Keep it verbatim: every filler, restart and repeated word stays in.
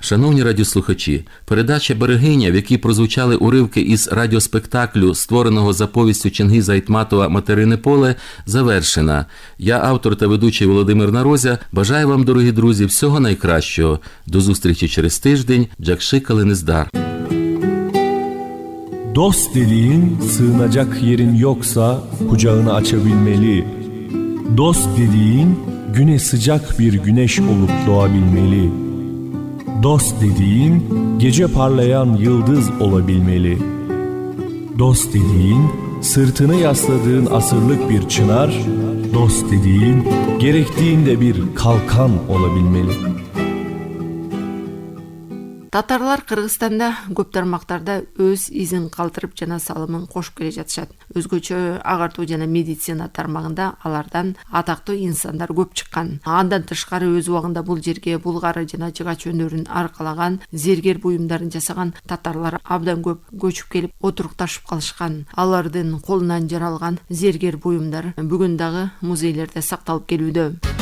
Шановні радіослухачі, передача «Берегиня», в якій прозвучали уривки із радіоспектаклю, створеного за повістю Чингіза Айтматова «Материне поле», завершена. Я, автор та ведучий Володимир Нарозя, бажаю вам, дорогі друзі, всього найкращого. До зустрічі через тиждень. Jakşı kalınızдар. Dost dediğin sığınacak yerin yoksa kucağını açabilmeli. Dost dediğin güne sıcak bir güneş olup doğabilmeli. Dost dediğin gece parlayan yıldız olabilmeli. Dost dediğin sırtını yasladığın asırlık bir çınar, dost dediğin gerektiğinde bir kalkan olabilmeli. Татарлар Кыргызстанда көп тармактарда өз изин калтырып жана салымын кошуп келе жатышат. Өзгөчө агартуу жана медицина тармагында алардан атактуу инсандар көп чыккан. Андан тышкары өз убагында бул жерге булгары жана жыгач өнөрүн аркалаган, зергер буюмдарын жасаган татарлар абдан көп көчүп келип отурукташып калышкан. Алардын колунан жаралган зергер буюмдар бүгүн дагы музейлерде сакталып келүүдө.